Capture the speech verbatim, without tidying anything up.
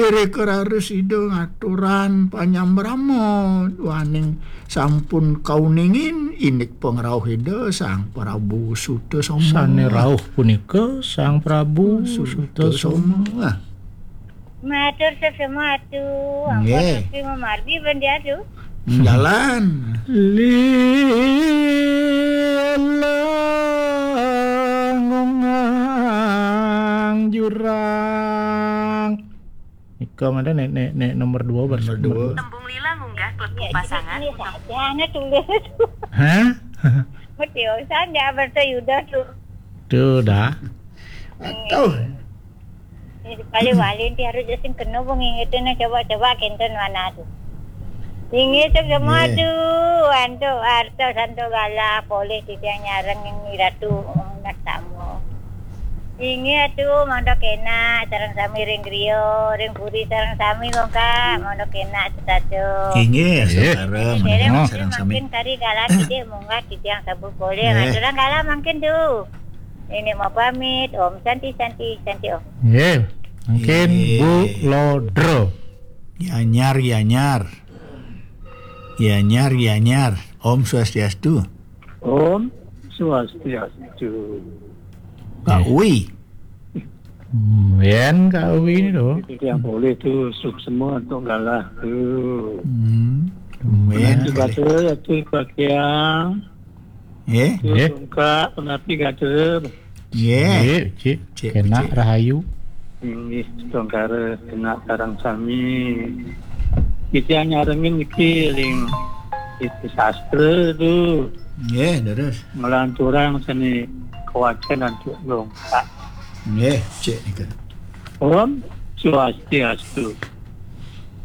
Ere keraris Ida ngaturan panyambrama duaning sampun kauningin indik pangrauh Ida Sang Prabu Sutasoma. Sane rauh punika Sang Prabu Sutasoma. Sutasoma. Matur sesama atu, ampun Nggih. Gusti mamargi bendi atu. Jalan. Lilang ngungang jurang. Nika mana nek, nek, nek nomor dua. Nomor dua. Tembung lila ngunggah klebu pasangan. Ini saja, ana tulis. Hah? Mesti urusan dia berta Yuda tu. Tu dah. Atuh. Ini sekali wali nanti harus sing kena pun ingetin, nah, coba-coba kenten mana tu. Inggih, sesama Nggih. Atu, antuk arta santo galah, polih titiang nyareng ing Ratu Nastama. Inggih atu, mangda kenak sareng sami ring griya, ring puri sareng sami, Bongkak, mangda kenak setata. Inggih, Nggih. Saudara, Nggih. Mangkin sareng sami. Mangkin kari galah titik munggah titiang sabu polih, Nggih. Ngaturang galah mangkin tu. Ini mau pamit, Om Santi, Santi, Santi, Om. Nggih. Mangkin Nggih. Bu Lodro. Yanyar, yanyar. Yanyar, yanyar. Om Swastiastu. Om Swastiastu. Kak Nggih. Wi. Hmm, yen Kak Wi ini lho. Itu yang boleh tu, suksma untuk galah tu. Hmm. Tumben. Yen Terima kasih, Atu Bagian. Nggih. Nggih. Bongkak, penapi kata. Nggih. Nggih, cik. Cik, kenak cik. Rahayu. Inggih, Tongkara kenak sareng sami. Kita nyarengin niki ring itu sastra tu. Nggih, terus. Ngelanturang seni kewacan antuk Bongkak. Nggih, cik nika. Om Swastiastu.